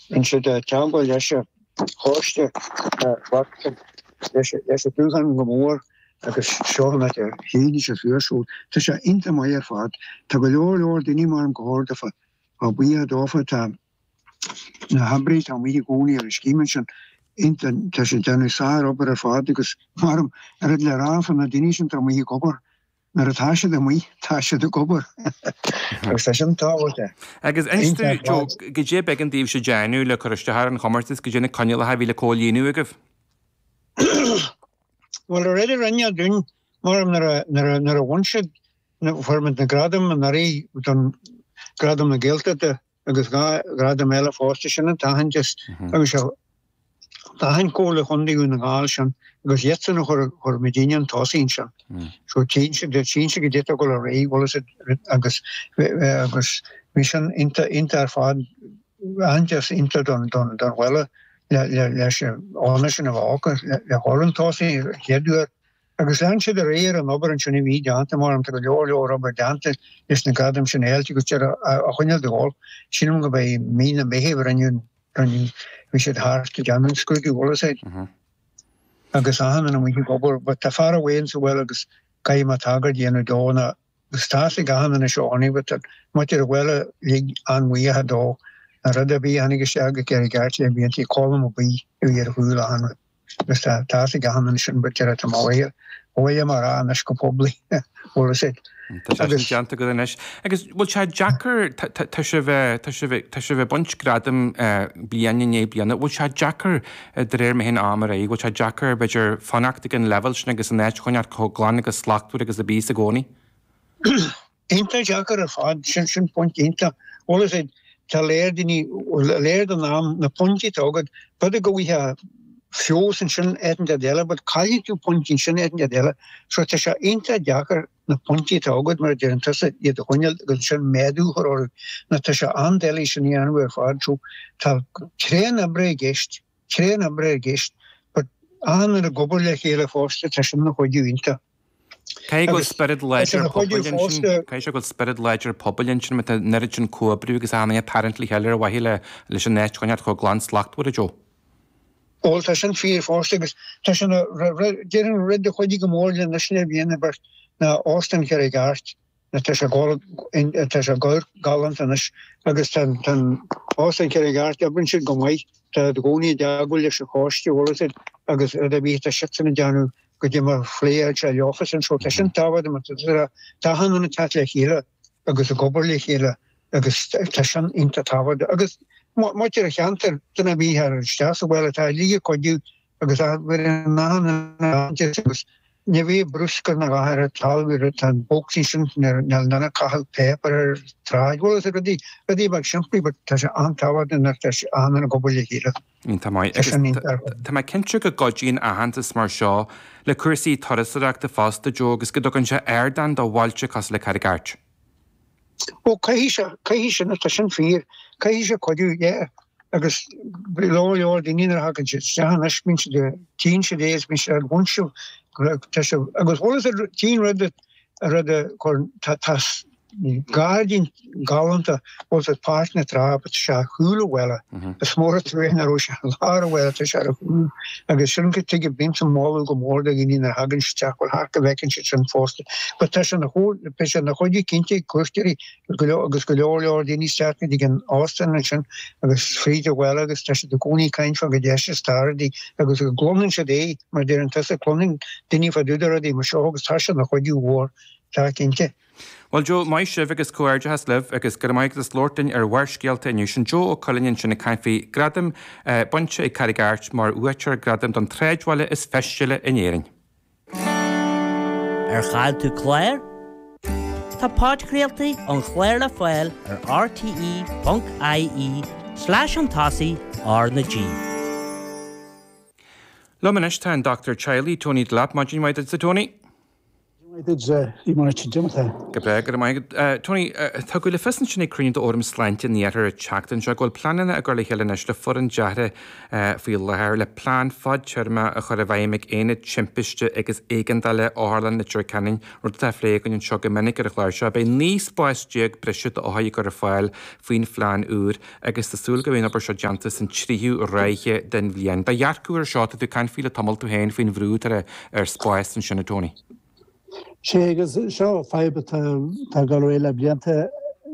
Rinne siad teagmháil leis an choiste, ghlac siad leis an dúshlán go mór agus seo an áit a shín siad suas. So tá sé iontach maith ar fad. Tá go leor leor daoine mar go leor daofa, tá buíoch dófa, tá na hoibrithe atá amuigh i gcónaí ar an scéim ansin iontach, tá siad ag déanamh sár-obair ar fad agus mar an rud le rá fá na daoine sin atá amuigh ag obair, Nuair atá siad amuigh, tá siad ag obair. Agus tá sin tábhachtach. Agus inis dúinn, Joe, goidé b'éigean daoibhse déanamh le cur isteach ar an chomórtas, goidé na coinníollacha a bhí le comhlíonadh agaibh? Bhuel, an rud a rinne dúinn, mar nuair a bhain siad, fuair muid na gradaim anuraidh don Gradam na Gaeltachta, agus 2 ghradam eile fosta, sin an t-aitheantas agus d'aithin Comhairle Chontae Dhún na nGall sin agus iadsan a chuir chuir muidinne chun tosaigh ansin. So tchíonn siad tchíonn siad goidé atá ag dul ar aghaidh bhfuil fhios agat agus agus bhí sin iontach iontach ar fad aitheantas iontach don don don bhaile le le leis an onóir sin a bheith acu le le dhul chun tosaigh an chéad uair. Agus lean siad ar aghaidh ar an obair ansin a bhí déanta, mar tá go leor leor obair déanta leis na gradaim sin a fháilt agus deir a choinneáil de dhul. Sílim go mbeidh mí na Meitheamh rinneadh an, bhí siad thart ag déanamh an scrúdú, bhfuil fhios agat. Agus achan duine amuigh ag obair, but tá fear amháin sa bhaile agus caithfidh mé tagairt a dhéanamh dó ná agus tá fhios ag achan duine seo ann, but tá muintir an bhaile uilig an-bhuíoch dó. An rud ar bith a tháinig isteach go Carraig Airt le blianta, Colm Ó Baoill a bhí ar chúl achan rud. Agus tá a fhios ag achan duine sin but deir tá mé abhaile, abhaile mar a anois go poiblí, bhfuil fhios agat. Tá sé sin déanta agat anois. Agus bhfuil sé deacair, tá sibh, tá sibh, tá sibh ag baint gradaim bliain i ndiaidh bliana, bhfuil sé deacair de réir mar a théann am ar aghaidh, bhfuil sé deacair b'fhéidir fanacht ag an leibhéal sin agus an áit a choinneáil chomh glan agus slachtmhar agus a bhíos i gcónaí? Iontach deacair ar fad, sin sin pointe iontach. Bhfuil fhios agat, tá léir daoine, léir don am, na pointí atá agat, b'fhéidir go bhfaighfeá feabhas ansin áit inteacht eile, but caillfidh tú pointí ansin áit inteacht eile. So tá sé iontach deacair na pointí atá agat, mar a deireann tusa, iad a choinneáil agus ansin méadú a chur orthu. Nó tá sé an-doiligh sin a dhéanamh ar fad. So tá tréan oibre i gceist, tréan oibre i gceist, but achan duine ag obair le chéile fosta, tá sin ina chuidiú iontach. Caithfidh go bhfuil spiorad láidir pobail ansin, caithfidh sé go bhfuil spiorad láidir pobail ansin má tá an oiread sin comhoibriú agus achan duine ag tarraingt le chéile ar mhaithe le leis an áit a choinneáil chomh glan slachtmhar, a Joe. Bhuel, tá sin fíor fosta agus tá sin a, déarfainn an rud a chuidigh go mór linn anois le bliain beirt ná Óstán Charraig Airt. Tá sé tá sé galánta anois agus tá tá an Óstán Charraig Airt, oibríonn siad go maith, tá i gcónaí i dteagmháil leis an choiste, bhfuil fhios agat, agus rud ar bith atá siadsan ag déanamh goidé mar phléann sé leofasan so tá sin tábhachtach mar tá tá achan duine ag teacht le chéile agus ag obair le chéile agus tá sin iontach tábhachtach agus muintir an cheantair, duine ar bith ar isteach sa bhaile tá uilig ag cuidiú agus bheireann achan duine agus ní bhíonn bruscar na gcathair ar talamh tá an bocsaí sin níl duine ag caitheamh páipéar ar an tsráid bhfuil fhios agat rudaí rudaí beag simplí but tá sé an-tábhachtach nuair tá achan duine ag obair le chéile. Iontach maith. Agus tá mé cinnte go gcuidíonn aitheantas mar seo le cúrsaí turasóireachta fosta, Joe, agus go dtugann sé ardán do bhailte cosúil le Carraig Airt. Ó, caithfidh sé, caithfidh sin, tá sin fíor, caithfidh sé cuidiú, yeah. Agus go leor leor daoine nuair a thagann siad isteach anois, bíonn siad, tchíonn siad é is bíonn siad ag bhaint sibh, tá sibh, agus bhfuil fhios agat, tchíonn rud a, rud a chuir, tá, tá gairdín galánta, bhfuil fhios agat, Páirc na Trá, but tá sé ar chúl an bhaile. Is mór an trua nach raibh sé i lár an bhaile, tá sé ar a chúl. Agus sin go tuige, bímse ag moladh go mór do dhaoine nuair a thagann siad isteach, bhuel, thart go bhfeiceann siad sin fosta. But tá sé ina beidh sé ina chuidiú cinnte ag cuairteoirí go leor agus go leor leor daoine isteach go dtí an óstán ansin agus fríd an bhaile agus tá siad i gcónaí ag caint fá go deis is tá rudaí agus go gcluineann siad é mar deireann tusa, cluineann daoine fá dtaobh de rudaí mar seo agus tá sé ina chuidiú mhór, tá cinnte. Bhuel Joe, maith sibh agus comhghairdeachas libh agus go raibh maith agat as labhairt linn ar Bharrscéalta inniu. Sin Joe Ó Cuilinn ansin ag caint faoi gradam bainte ag Carraig Airt mar bhuaiteoir gradaim don tsráidbhaile is feistile in Éirinn. Ar chaill tú clár? Tá podchraoltaí an chláir le fáil ar rte.ie slash chun tosaigh R na G. Liom anois tá an Dochtúir Teaghlaigh Tony Delap. Maidin mhaith duitse Tony. Maith duit, a Mháirtín. Cad é mar atá? Go breá, go raibh maith agat. Tony, tugadh le fios ansin ag cruinniú d'Fhóram Sláinte an Iarthair an tseachtain seo go bhfuil pleananna á gcur le chéile anois le foireann deartha faoi láthair le plean fadtéarmach a chur i bhfeidhm ag Aonad Timpiste agus Éigeandála Otharlann Leitir Ceanainn, rud atá á phlé againn anseo go minic ar an chlár seo. Beidh 19 spás breise d'othair á gcur ar fáil faoin phlean úr agus tá súil go mbeidh an obair seo déanta san tríú ráithe den bhliain. Do dhearcadh ar seo, tá tú ag caint faoi le tamall tú féin faoin bhrú atá ar spás ansin, a Tony. Sea, agus seo fadhb atá ag dul ar aghaidh le blianta.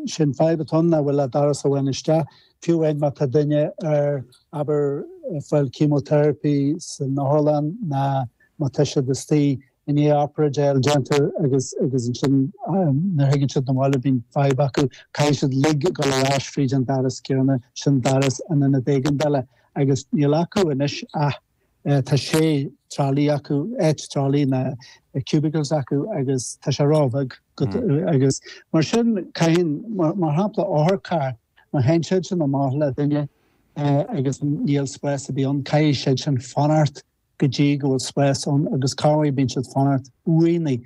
Sin fadhb atá ann nach bhfuil ach doras amháin isteach. Fiú amháin má tá duine ar, abair, ag fáil chemotherapy san otharlann ná má tá siad istigh i ndiaidh obráid a fháil déanta agus agus ansin nuair a thagann siad 'na bhaile bíonn fadhb acu, caithfidh siad uilig dul ar ais fríd an doras céanna, sin doras an ionad éigeandála agus níl acu anois ach Tá sé tralaí acu, áit tralaí ná cubicles acu agus tá sé róbheag agus mar sin caitheann, mar shampla otharcharr, má théann siad sin amach le duine agus níl spás ar bith ann, caithfidh siad sin fanacht go dtí go bhfuil spás ann agus corruair bíonn siad fanacht uaighnigh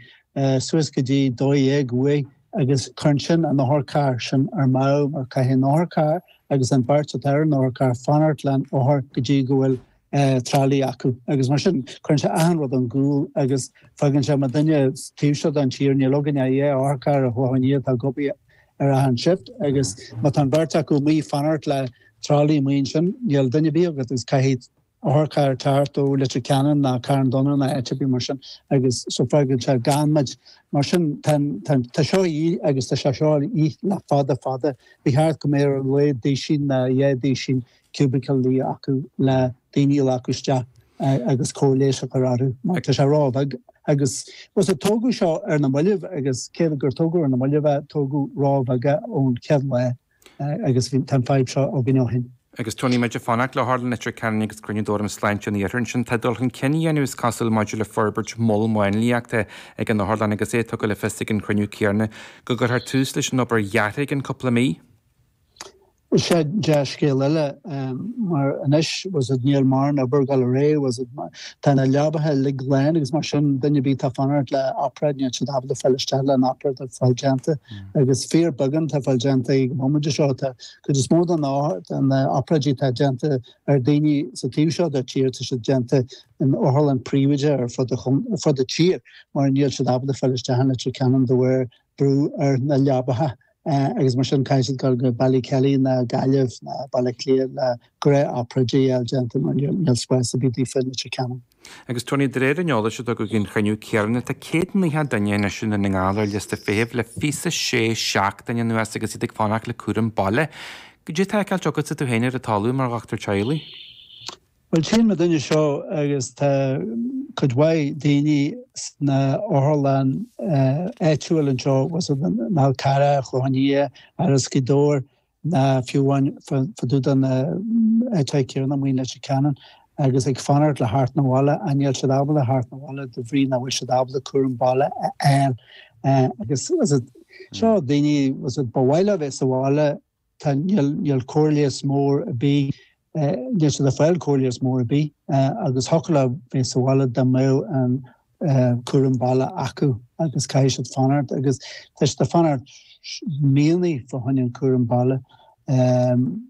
suas go dtí 12 uair agus cuireann sin an otharcharr sin ar mámh mar caithfidh an otharcharr agus an bheirt atá ar an otharcharr fanacht leis an othar go dtí go bhfuil tralaí acu agus mar sin cuireann sé achan rud ón gcúl agus fágann sé mar duine taobh seo den tír níl againn ach dhá otharcharr ar Chlochán Liath atá ag obair ar achan shift agus má tá an bheirt acu amuigh fanacht le tralaí amuigh ansin níl duine ar bith agat agus caithfidh otharcharr teacht ó Leitir Ceanainn ná Carn Donncha ná áit ar bith mar sin agus so fágann sé gan muid. Mar sin tá tá seo a dhíth agus tá sé seo a dhíth le fada fada. Ba cheart go mbeadh ar a laghad duisín ná dhá duisín cubicle acu le daoine a ghlacadh isteach agus cóir leighis a chur orthu mar tá sé róbheag agus bhuel tógadh seo ar na mallaibh agus cé gur tógadh ar na mallaibh é tógadh róbheag é ón chéad lá. agus tá an fadhb seo againn ó shin. Agus Tony, muid ag fanacht le hOtharlann Leitir Ceanainn agus cruinniú d'Fhóram Sláinte an Iarthair ansin. Tá dul chun cinn á dhéanamh is cosúil maidir le forbairt mol máinliachta ag an otharlann agus é tugtha le fios ag an chruinniú céanna go gcuirfear tús leis an obair dheartha i gceann cúpla mí. Sea, dea-scéal eile, mar anois, bhfuil a fhios agat, níl mórán obair ag dul ar aghaidh, bhfuil a fhios agat, tá na leabacha uilig lán agus mar sin, duine ar bith atá ag fanacht le obráid, níl siad ábalta fáil isteach le an obráid a fáil déanta. Agus fíor beagán atá ag fáil déanta ag an bhomaite seo. Tá cuid is mó de na obráidí atá déanta ar daoine sa taobh seo de tír, tá siad déanta in otharlann príobháideach ar fud an tír mar níl siad ábalta fáil isteach in Leitir Ceanainn de bharr brú ar na leabacha agus mar sin caithfidh siad dul go Ballykelly ná Gaillimh ná Baile Átha Cliath le gnáth-obráidí a fháil déanta mar níl spás ar bith daofa in Leitir Ceanainn. Agus Tony, de réir an eolais a tugadh ag an chruinniú céanna, tá 190 duine anois i nDún na nGall ar liosta feithimh le 26 seachtain anuas agus iad ag fanacht le cúram baile. Cad é atá á fheiceáilt agatsa tú féin ar an talamh mar dhochtúir teaghlaigh? Bhuel, tchíonn muid duine seo agus tá cuid mhaith daoine sna otharlann áitiúil anseo, bhfuil a fhios agat, an Fhál Carrach, Clochán Liath, Áras Ghaoth Dobhair, ná fiú amháin fá dtaobh de na áiteacha céanna amuigh in Leitir Ceanainn agus ag fanacht le theacht 'na bhaile ach níl siad ábalta theacht 'na bhaile de bhrí nach bhfuil siad ábalta cúram baile a fháil agus bhfuil a fhios agat seo daoine bhfuil a fhios agat ba mhaith leo bheith sa bhaile tá níl níl cóir leighis mór ar bith níl siad ag fáil cóir leighis mór ar bith agus thiocfadh leo bheith sa bhaile dá mbeadh an cúram baile acu agus caithfidh siad fanacht agus tá siad ag fanacht míonna fá choinne an cúram baile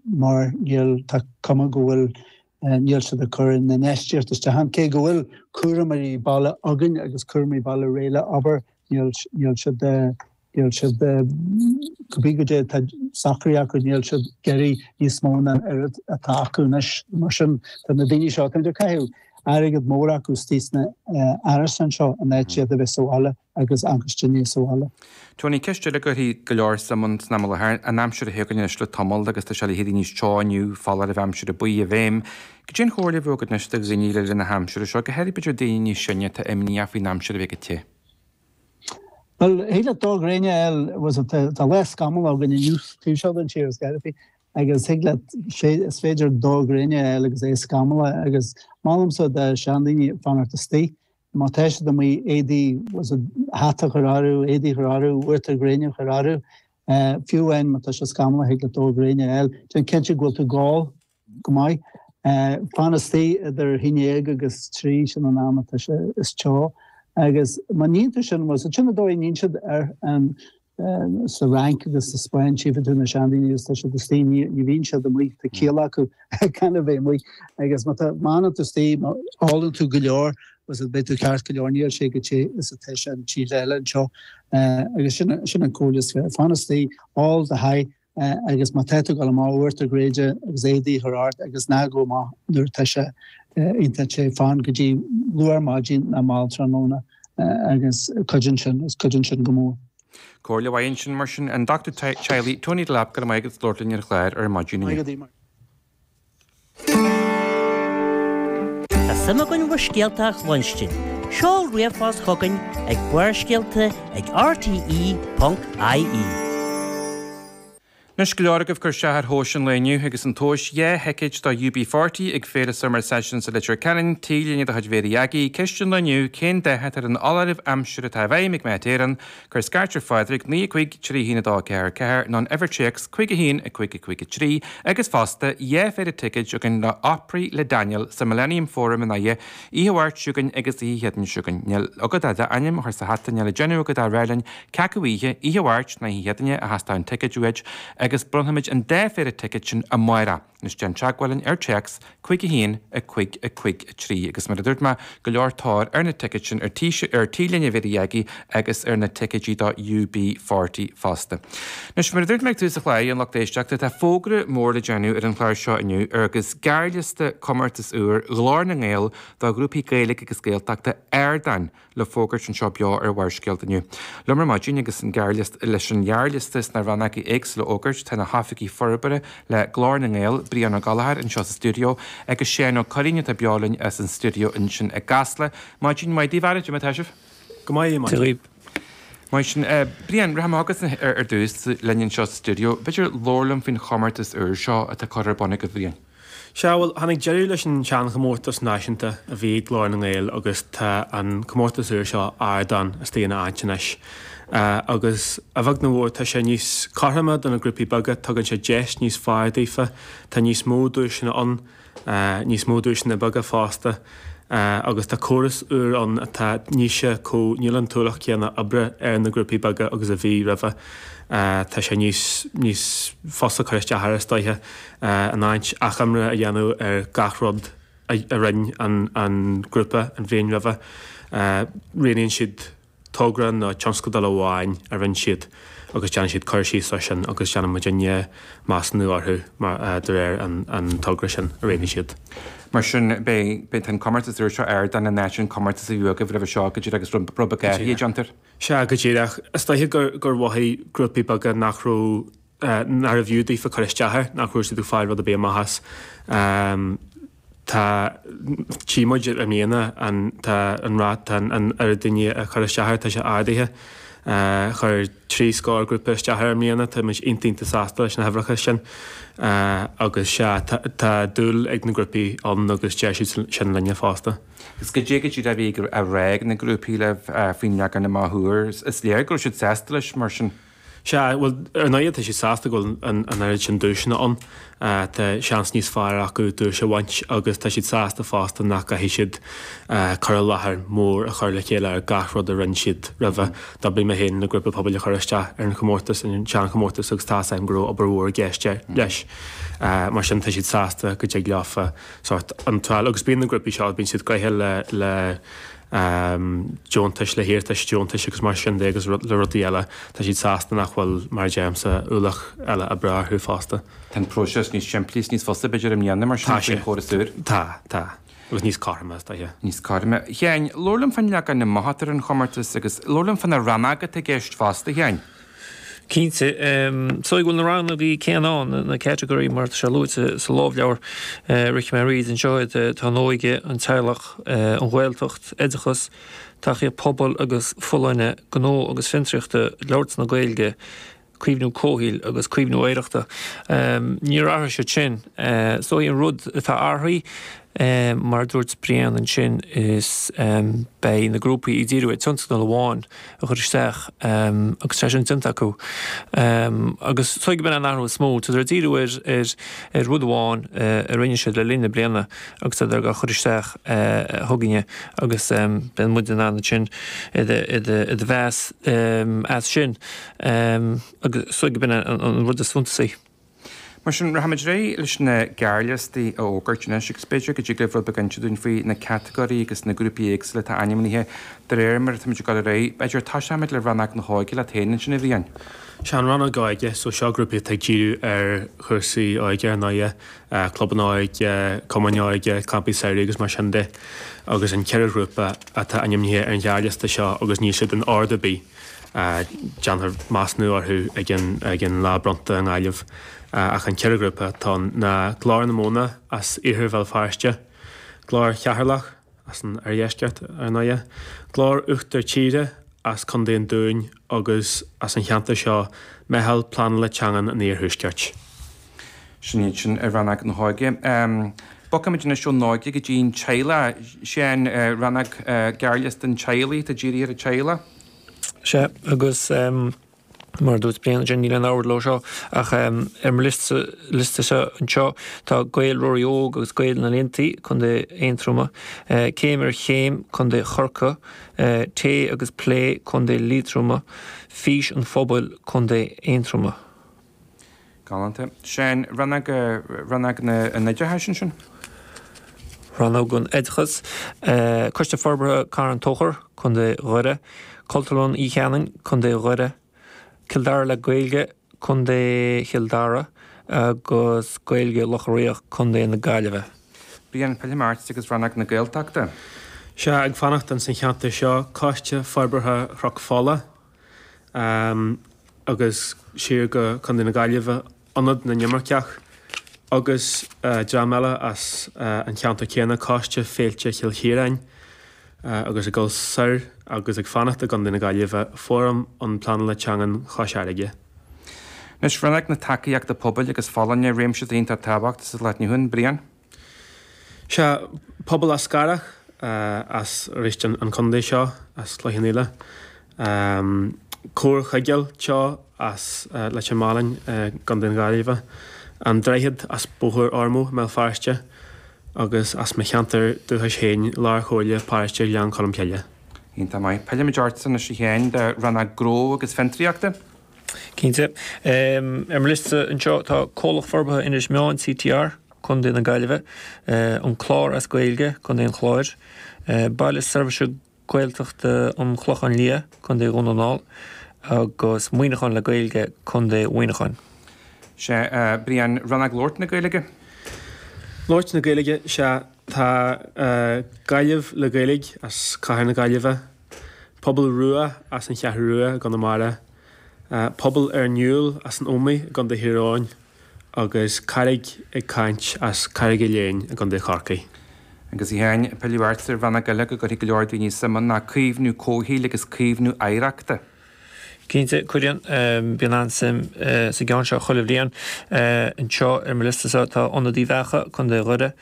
mar níl, tá cuma go bhfuil, níl siad ag cur na n-infheistíocht isteach ann. Cé go bhfuil cúramóirí baile againn agus cúramóirí baile réidh le obair, níl, níl siad, Níl siad, cibé goidé atá socraithe acu, níl siad ag iarraidh níos mó ná an oiread atá acu anois. Mar sin, tá na daoine seo, táimid ag caitheamh airgead mór acu istigh sna árasáin seo in áit iad a bheith sa bhaile agus ancaiste níos sa bhaile. Tony, ceist eile a gcuirfidh go leor suim ann san am i láthair, an aimsir a thagann anois le tamall agus tá sé le héirí níos teo inniu, foláireamh aimsire buí i bhfeidhm. Cad é an chomhairle a bheadh agat anois do dhaoine le linn na haimsire seo, go háirithe b'fhéidir daoine níos sine atá imníoch faoin aimsir a bheith go te? Bhuel, thig leat dó gréine a fháil, bhfuil a fhios agat, tá lá scamallach againn inniu taobh seo den tír is gairid agus thig leat, is féidir dó gréine a fháil agus é scamallach agus molaimse do seandaoine fanacht istigh. Má tá siad amuigh, éadaí, bhfuil a fhios agat, hata a chur orthu, éadaí a chur orthu, uachtar gréine a chur orthu. Fiú amháin má tá sé scamallach thig leat dó gréine a fháil. Déan cinnte go bhfuil tú ag ól. Go maith. Fan istigh idir a haon dhéag agus trí, sin an am atá sé is teo. Agus má níonn tú sin, bhuel, sin an dóigh a níonn siad ar an, sa Fhrainc agus sa Spáinn, tchífidh tú na seandaoine agus tá siad istigh, ní, ní bhíonn siad amuigh, tá ciall acu gan a bheith amuigh. Agus má tá, má fhanann tú istigh, má ólann tú go leor, bhuel, beidh tú ceart go leor, níl sé chomh te is atá sé in tíortha eile anseo. Agus sin, sin an comhairle is fearr, fan istigh, ól do sháith, agus má tá tú ag dul amach uachtar gréide agus éadaí a chur ort agus ná gabh amach nuair atá sé iontach te, fan go dtí luath ar maidin nó mall tráthnóna agus cuidíonn sin, is cuidíonn sin go mór. Comhairle mhaith ansin mar sin. An Dochtúir Teaghlaigh, Tony Delap, go raibh maith agat as labhairt linn ar an chlár ar maidin inniu. Tá suim againn bhur scéalta a chluinstin. Seol ríomhphost chugainn ag barrscéalta ag rte.ie. Anois go leor agaibh ag cur isteach ar thomhais an lae inniu agus an tomhas 2 thicéid do UB40 ag Féile Summer Sessions i Leitir Ceanainn, T-léine de chuid Mhéirí Aggie, Ceist an lae inniu, Cén dath atá ar an fholáireamh aimsire atá i bhfeidhm ag Met Éireann? Cuir scairt ar Phádraig, 9 5 3 1 2 4 4, nó an uimhir téacs 5 1 5 5 3, agus fosta, 2 phéire ticéid againn le Opry le Daniel sa Millennium Forum i nDoire, oíche Mháirt seo chugainn agus oíche Chéadaoin seo chugainn. Níl agat ach d'ainm a chur sa hata, níl le déanamh agat ach rá linn cé acu oíche, oíche Mháirt nó oíche Chéadaoine a theastódh an ticéad uait, agus bronnfaimid an dá phéire ticéad sin amárach. Anois déan teagmháil linn ar téacs 5 1 5 5 3 agus mar a dúirt mé, go leor tóir ar na ticéid sin ar ar T-léine Mhéirí Aggie agus ar na ticéidí do UB40 fosta. Anois mar a dúirt mé ag tús an chláir, a lucht éisteachta, tá fógra mór le déanamh ar an chlár seo inniu agus gearrliosta comórtas úr Ghlór na nGael do ghrúpaí Gaeilge agus Gaeltachta Ardán le fógairt anseo beo ar Bharrscéalta inniu. Liom ar maidin agus an gearrliosta leis an ghearrliosta sna rannógaí éagsúla a fhógairt tá na hoifigigh forbartha le Glór na nGael, Brian Ó Gallchóir anseo sa stiúideo agus Seán Ó Curraoin atá beo linn as an stiúideo ansin i gCasla. Maidin mhaith daoibh, a fhearaibh, cad é mar atá sibh? Go maith, a Mhaidhc. Maith sin. Brian, rachaidh mé chugatsa ar dtús linn anseo sa stiúideo. B'fhéidir labhair liom faoin chomórtas úr seo atá curtha ar bun agaibh, a Bhriain. Sea, bhuel, tháinig deireadh leis an seanchomórtas náisiúnta a bhí ag Glór na nGael agus tá an comórtas úr seo, Ardán, istigh ina áit anois. Agus, a bheag nó a mhór, tá sé níos cothroime do na grúpaí beaga, tugann sé deis níos fearr daofa, tá níos mó duaiseanna ann, níos mó duaiseanna beaga fosta, agus tá córas úr ann atá, níl sé chomh, níl an t-ualach céanna oibre ar na grúpaí beaga agus a bhí roimhe. Tá sé níos, níos fusa cur isteach air, is dóiche. In áit achoimre a dhéanamh ar gach rud a rinne an grúpa an bhliain roimhe, roghnaíonn siad togra nó tionscadal amháin a rinne siad agus déanann siad cur síos air sin agus déanann muidinne measúnú orthu de réir an togra sin a roghnaigh siad. Mar sin, beidh, beidh an comórtas úr seo Ardán in áit an comórtas a bhí agaibh roimhe seo go díreach agus rud beag athraithe déanta air. Sea, go díreach. Is dóiche gur mhothaigh grúpaí beaga nach raibh nárbh fhiú daofa cur isteach air, nach raibh siad ag fáil rud ar bith amach as. Tá, tchí muid i mbliana, an, tá an rát, tá an oiread daoine ag cur isteach air, tá sé ardaithe. Chuir trí scór grúpa isteach air i mbliana, tá muid iontach iontach sásta leis na huimhreacha sin. Agus sea, tá, tá dúil ag na grúpaí ann agus deir siad sin linne fosta. Agus goidé go díreach a bhí á rá ag na grúpaí libh faoin leagan amach úr, is léir go raibh siad sásta leis mar sin. Sea, bhuel, ar ndóighe tá siad sásta go bhfuil an oiread sin duaiseanna ann. Tá seans níos fearr acu duais a bhaint agus tá siad sásta fosta nach gcaithfidh siad cur i láthair mór a chur le chéile ar gach rud a rinne siad roimhe. D'oibrigh mé féin le grúpa pobail a chur isteach ar an chomórtas, an seanchomórtas agus tá's agam go raibh obair mhór i gceist leis. Mar sin tá siad sásta go dtig leofa sórt iontráil agus bíonn na grúpaí seo, bíonn siad gnoitheach le deontais, le hiarratais deontais agus mar sin de agus le rudaí eile. Tá siad sásta nach bhfuil, mar a deirimse, ualach eile oibre orthu fosta. Tá an próiseas níos simplí is níos fusa b'fhéidir i mbliana mar sin faoin chóras úr. Tá, tá. Agus níos cothroime is dóiche. Níos cothroime. A Sheáin, labhair liom fán leagan amach atá ar an chomórtas agus labhair liom fá na rannóga atá i gceist fosta, a Sheáin. Cinnte. So bhfuil na rannógaí céanna ann, na category mar atá sé luaite sa lámhleabhar, rachaidh mé thríd anseo iad, tá an óige, an teaghlach, an Ghaeltacht, oideachas, tacaíocht pobail agus folláine, gnó agus fiontraíochta, labhairt na Gaeilge, caomhnú comhshaoil agus caomhnú oidhreachta. Níor athraigh siad sin. So an rud atá athraithe. Mar a dúirt Brian ansin is beidh na grúpaí ag díriú ar tionscadal amháin a chur isteach agus tá sé sin déanta acu. Agus is dóigh gurb in an athrú is mó, tádar ag díriú ar ar rud amháin a rinne siad le linn na bliana agus tádar á chur isteach chugainne agus beidh muid in ann ansin iad a mheas as sin agus is dóigh gurb in an rud is suntasaí. Mar sin, rachaimid ar aghaidh leis na gearrliostaí a fhógairt anois agus b'fhéidir go dtig libh rud beag a inse dúinn faoi na catagóirí agus na grúpaí éagsúla atá ainmnithe de réir mar atáimid ag dul ar aghaidh. B'fhéidir tosóimid le Rannóg na hÓige leat féin ansin, a Bhriain. Sea, an Rannóg Óige, so seo grúpaí atá ag díriú ar chúrsaí óige ar ndóighe, clubanna óige, cumainn óige, campaí samhraidh agus mar sin de agus an ceithre ghrúpa atá ainmnithe ar an ghearrliosta seo agus níl siad in ord ar bith. Déanfar measúnú orthu ag an lá bronnta i nGaillimh ach an ceithre ghrúpa atá ann ná Glór na Móna as Iarthar Bhéal Feirste, Glór Cheatharlach as an oirdheisceart ar ndóighe, Glór Uachtar Tíre as Contae an Dúin agus as an cheantar seo Meitheal Pleanála Teangan an Iarthuaiscirt. Sin iad sin i Rannóg na hÓige. Bogfaimid anois ón óige go dtí an teaghlach. Seán, rannóg gearrliosta an teaghlaigh atá dírithe ar an teaghlach. Sea, agus mar a dúirt Brian ansin, níl aon ord leo seo, ach ar mo liosta-sa anseo tá Gaeil Ruairí Óg agus Gaeil na nGleanntaí, Contae Aontroma, Céim ar Chéim, Contae Chorcaí, Tae agus Plé, Contae Liatroma, Fís an Phobail, Contae Aontroma. Galánta. Seán, rannóg, rannóg an oideachais ansin? Rannóg an Oideachais, Coiste Forbartha Carn Tóchair, Contae Dhoire, Cultúrlann Uí Cheanainn, Contae Dhoire, Cill Dara le Gaeilge, Contae Chill Dara, agus Gaeilge Locha Riach, Contae na Gaillimhe. Brian, pillfidh mé ort agus Rannóg na Gaeltachta. Sea, ag fanacht ins an cheantar seo, Coiste Forbartha Chnoc Fola, agus siar go Contae na Gaillimhe, Ionad na nImirceach agus dream eile as an cheantar céanna, Coiste Féilte Chill Chiaráin agus ag dul soir agus ag fanacht i gContae na Gaillimhe, Fóram um Pleanála Teangan Chois Fharraige. Anois, Rannóg na Tacaíochta Pobail agus Folláine, réimse iontach tábhachtach sa lá atá inniu ann, Brian. Sea, Pobal Eas Carrach as arís an contae seo, as Cloich Cheann Fhaola. Comhar Chuigéil Teo as Leitir Mealláin i gContae na Gaillimhe. An Droichead as Bóthar Ormeau i mBéal Feirste agus as mo cheantar dúchais féin, Lár-Chomhairle Paróiste Ghleann Cholm Cille. Iontach maith. Pillfimid ortsa anois a Sheáin do Rannóg Gnó agus Fiontraíochta. Cinnte. Ar mo liosta anseo tá Comhlacht Forbartha Inis Meáin, CTR, Contae na Gaillimhe, An Clár as Gaeilge, Contae an Chláir, Baile Seirbhíse Gaeltachta an Chlocháin Liath, Contae Dhún na nGall, agus Muineachán le Gaeilge, Contae Mhuineacháin. Sea, Brian, Rannóg Labhairt na Gaeilge? Labhairt na Gaeilge, sea, tá Gaillimh le Gaeilge as Cathair na Gaillimhe, Pobal Rua as an Cheathrú Rua i gConamara, Pobal Ár nDúil as an Ómaigh i gContae Thír Eoghain agus Carraig ag Caint as Carraig Fhilléin i gContae Chorcaí. Agus a Sheáin, pilleadh ort ar rannóg eile go gcuirfidh go leor daoine suim ann ná caomhnú comhshaoil agus caomhnú oidhreachta. Cinnte, cuireann. Bíonn an-suim sa gceann seo chuile bhliain. Anseo ar mo liosta-sa tá Ionad Uíbh Eachach, Contae Dhoire,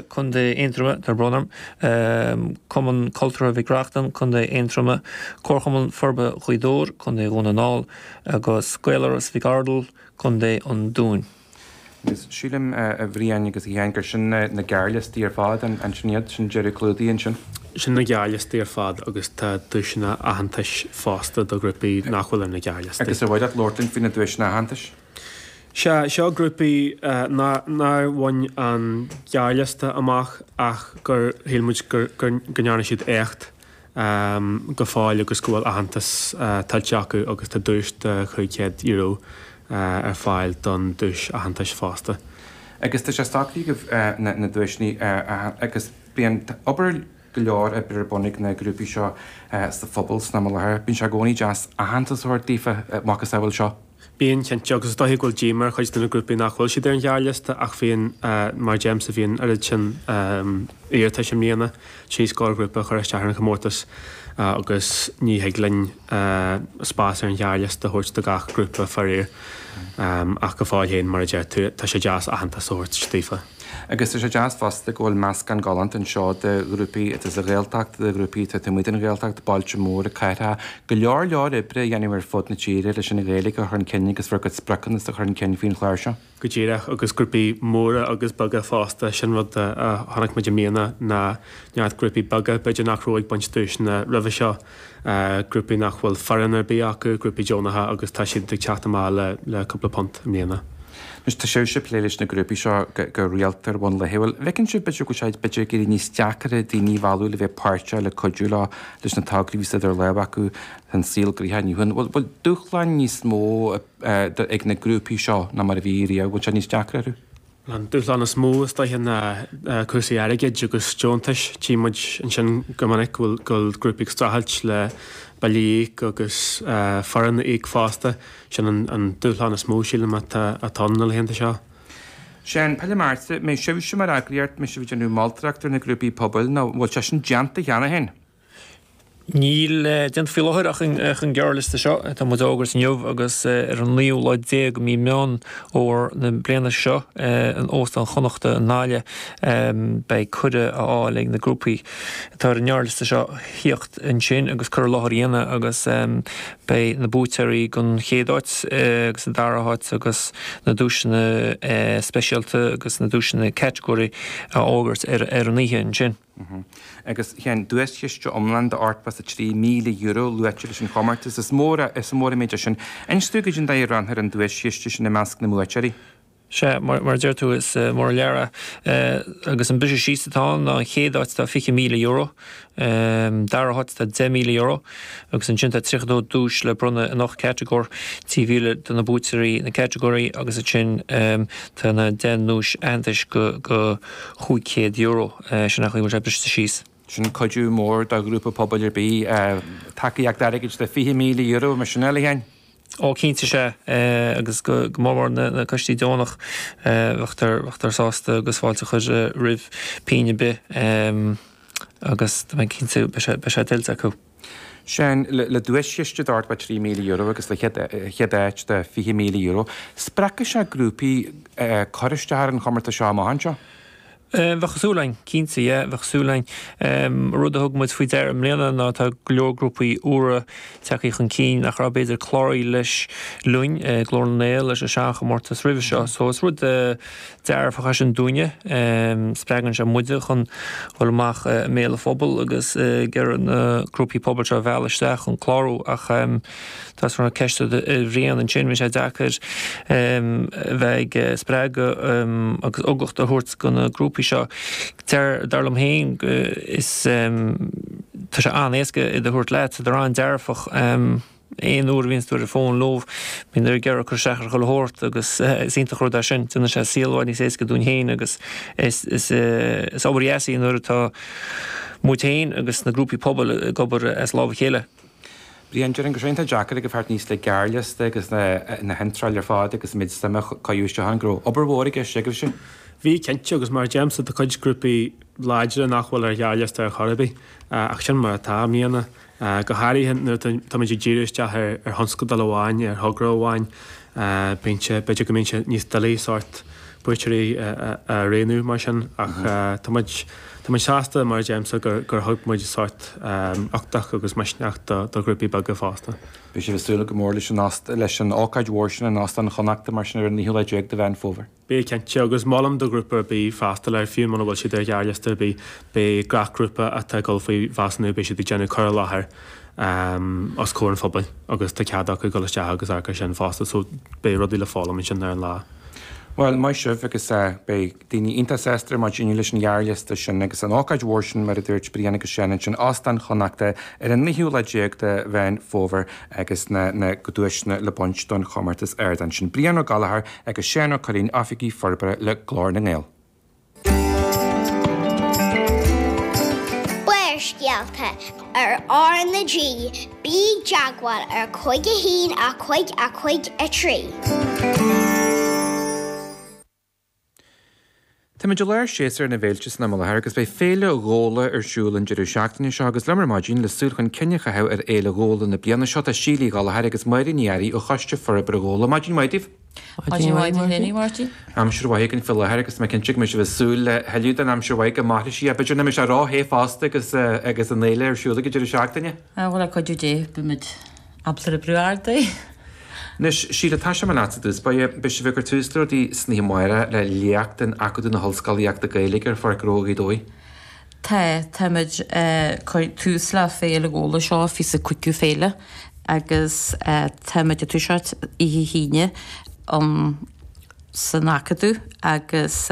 Contae Aontroma, tá brón orm, Cumann Cultúrtha Mhic Reachtain, Contae Aontroma, Comharchumann Forbartha Ghaoth Dobhair, Contae Dhún na nGall, agus Gaeláras Mhic Ardail, Contae an Dúin. Agus sílim, a Bhriain agus a Sheáin, gur sin na gearrliostaí ar fad, an sin iad? Sin deireadh clúdaigh ansin? Sin na gearrliostaí ar fad agus tá duaiseanna aitheantais fosta do ghrúpaí nach bhfuil ar na gearrliostaí. Agus ar mhaith leat labhairt linn faoi na duaiseanna aitheantais? Sea, seo grúpaí nár bhain an gearrliosta amach ach gur shíl muid go ndearna siad éacht go fóill agus go bhfuil aitheantas tuillte acu agus tá duais de €500 ar fáil don duais aitheantais fosta. Agus tá sé socraithe agaibh na duaiseanna agus bíonn obair go leor oibre ar bun ag na grúpaí seo sa phobal san am i láthair. Bíonn sé i gcónaí deas aitheantas a thabhairt daofa, macasamhail seo. Bíonn, cinnte, agus is dóiche go bhfuil díoma ar chuid de na grúpaí nach bhfuil siad ar an ghearrliosta ach bhíonn, mar a deirimse, bhí an oiread sin iarratais i mbliana, 3 scór grúpa a chuir isteach ar an chomórtas agus ní thig linn spás ar an ghearrliosta a thabhairt do gach grúpa faraor. Ach go fóill féin, mar a deir tú, tá sé deas aitheantas a thabhairt daofa. Agus tá sé deas fosta go bhfuil meascán galánta anseo de ghrúpaí atá sa Ghaeltacht, de ghrúpaí atá taobh amuigh den Ghaeltacht, bailte móra, cathracha, go leor leor oibre a dhéanamh ar fud na tíre leis an Ghaeilge a chur chun cinn agus bhur gcuid spriocanna a chur chun cinn faoin chlár seo. Go díreach, agus grúpaí móra agus beaga fosta, sin rud a chonaic muid i mbliana ná neart grúpaí beaga, b'fhéidir nach raibh ag baint duaiseanna roimhe seo, grúpaí nach bhfuil foireann ar bith acu, grúpaí deonacha agus tá siad ag teacht amach le cúpla punt i mbliana. Anois, tá sibhse ag plé leis na grúpaí seo go rialta ar bhonn laethúil. An bhfeiceann sibh, b'fhéidir, go bhfuil sé b'fhéidir ag éirí níos deacaire daoine a mhealladh le bheith páirteach, le cuidiú leo leis na tograí a bhíos idir lámha acu, tá an saol gnoitheach inniu. An bhfuil dúshláin níos mó ag na grúpaí seo ná mar a bhí riamh? Bhfuil sé níos deacra orthu? An dúshlán is mó is dóiche ná cúrsaí airgid agus deontais. Tchí muid ansin go minic go bhfuil grúpaí ag streachailt le billí a íoc agus foireann a íoc fosta. Sin an dúshlán is mó, sílim, atá ann na laethanta seo. Seán, Peile Márta, mbeidh sibhse mar eagraíocht, mbeidh sibh ag déanamh moltóireacht ar na grúpaí pobail nó an bhfuil sé sin déanta cheana féin? Níl déanta faoi láthair ach an gearrliosta seo atá muid a fhógairt inniu agus ar an naoú lá déag de mhí Meán Fómhair na bliana seo in Óstán Chonnachta i nGaillimh beidh cuireadh á fháil ag na grúpaí atá ar an ngearrliosta seo thíocht ansin agus cur i láthair a dhéanamh agus beidh na buaiteoirí don chéad áit agus an dara háit agus na duaiseanna speisialta agus na duaiseanna catagóirí á bhfógairt ar an oíche ansin. Agus tá duaischiste iomlán de €83,000 luaite leis an chomórtas. Is mór is mór an méid é sin. Inis dúinn goidé an dóigh a roghnófar an duaischiste sin i measc na mbuaiteoirí. Sea, mar a deir tú, is mór an lear é. Agus an briseadh síos atá ann ná an chéad áit tá €20,000, dara háit tá €10,000 agus ansin tá 32 duais le bronnadh in 8 catagóir, 3,000 do na buaiteoirí na catagóirí agus ansin tá na 10 nduais aitheantais go €500. Sin an chaoi a bhfuil sé briste síos. Sin cuidiú mór do ghrúpa pobail ar bith. Tacaíocht airgid de €20,000, mar sin é, a Sheáin? Ó, cinnte sea, agus go mór mór na coistí deonach, bheadh sásta agus fáilte a chur roimh pingin ar bith agus tá mé cinnte beidh sé tuillte acu. Seán, le duaischiste de €83,000 agus le chéad áit de €20,000, spreagfaidh sé grúpaí cur isteach ar an chomórtas seo amach anseo? Bheadh súil againn, cinnte, yeah, bheadh súil againn. Rud a thug muid faoi deara i mbliana ná tá go leor grúpaí úra tagtha chun cinn nach raibh b'fhéidir cláraithe leis linn, Glór na nGael, leis an seanchomórtas roimhe seo. So is rud dearfach é sin dúinne. Spreagann sé muide chun dhul amach i mbéal an phobail agus ag iarraidh na grúpaí pobail seo a mhealladh isteach chun clárú ach Tá an ceist a Bhriain ansin, bíonn sé deacair a bheith ag spreagadh agus uchtach a thabhairt do na grúpaí seo. Deir, dar liom féin, is tá sé an-éasca iad a thabhairt leat, tá an-dearfach. Aon uair a bhíonns tú ar an bhfón leo, bíonn ag iarraidh cur isteach ar chuile shórt agus is iontach rud é sin. Déanann sé saol i bhfad níos éasca dúinn féin agus is is obair dheas í nuair atá muid féin agus na grúpaí pobail ag obair as lámh a chéile. Brian, déarfainn go raibh sé iontach deacair agaibh theacht aníos le gearrliosta agus na hiontráil ar fad agus an méid suime a cuireadh isteach ann, go raibh obair mhór i gceist agaibhse. Bhí, cinnte, agus mar a deirimse, tá cuid grúpaí láidre nach bhfuil ar ghearrliosta ar chor ar bith, ach sin mar atá i mbliana, go háirithe nuair atáimid ag díriú isteach ar thionscadal amháin, ar thogra amháin, bíonn sé, b'fhéidir go mbíonn sé níos doiligh sórt buaiteoirí a roghnú mar sin, ach tá muid, Tá muid sásta, mar a deirimse, gur thug muid sórt uchtach agus misneach do ghrúpaí beaga fosta. Beidh sibh ag súil go mór leis an leis an ócáid mhór sin in Óstán Chonnachta mar sin ar an naoú lá déag de Mheán Fómhair. Beidh cinnte, agus molaim do ghrúpa ar bith freastal air, fiú muna bhfuil siad ar ghearrliosta ar bith, beidh gach grúpa atá ag dul faoi mheasúnú, beidh siad ag déanamh cur i láthair os comhair an phobail agus tá cead acu dul isteach agus amharc air sin fosta, so beidh rudaí le foghlaim ansin ar an lá. Bhuel, maith sibh agus beidh daoine iontach sásta ar maidin inniu leis an ghearrliosta sin agus an ócáid mhór sin mar a dúirt Brian agus Seán ansin, Óstán Chonnachta ar an naoú lá déag de Mheán Fómhair agus na na duaiseanna le baint don chomórtas Ardán sin. Brian Ó Gallchóir agus Seán Ó Curraoin, Oifigigh Forbartha le Glór na nGael. Barrscéalta ar R na G, bí i dteagmháil ar 5 1 5 5 3. Táimid i lár séasúr na bhféilte san am i láthair agus beidh Féile Ghabhla ar siúl an deireadh seachtaine seo agus liom ar maidin le súil chun cinn a chaitheamh ar Fhéile Ghabhla na bliana seo tá Síle Uí Ghallchóir agus Máire Ní Fhearraigh ó Choiste Forbartha Ghabhla. Maidin mhaith daoibh! Maidin mhaith duit féin, a Mháirtín. Aimsir mhaith againn faoi láthair agus tá mé cinnte go mbeidh sibh ag súil le thuilleadh den aimsir mhaith go mairfidh sí. B'fhéidir nach mbeidh sé ró-the fosta agus agus an fhéile ar siúl ag an deireadh seachtaine. Bhuel, le cuidiú Dé, beimid ábalta oibriú ardaí. Anois, Síle, tosóidh mé leatsa i dtús báire. Beidh sibh ag cur tús le rudaí san oíche amárach le léacht in Acadamh na hOllscolaíochta Gaeilge ar Pháirc Ghnó Ghaoth Dobhair. Tá, táimid ag cur tús le Féile Ghabhla seo, fiche is cúigiú féile agus táimid ag toiseacht oíche hAoine um san Acadamh agus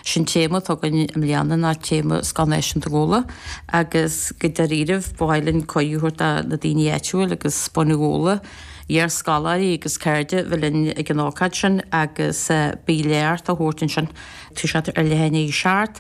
sin téama atá againn i mbliana ná téama Scoil Náisiúnta Ghabhla agus go dáiríribh ba mhaith linn cuireadh a thabhairt do na daoine áitiúil agus bunadh Ghabhla, iar-scoláirí agus cairde bheith linn ag an ócáid sin agus beidh léacht á thabhairt ansin. Toiseacht ar leath i ndiaidh a seacht.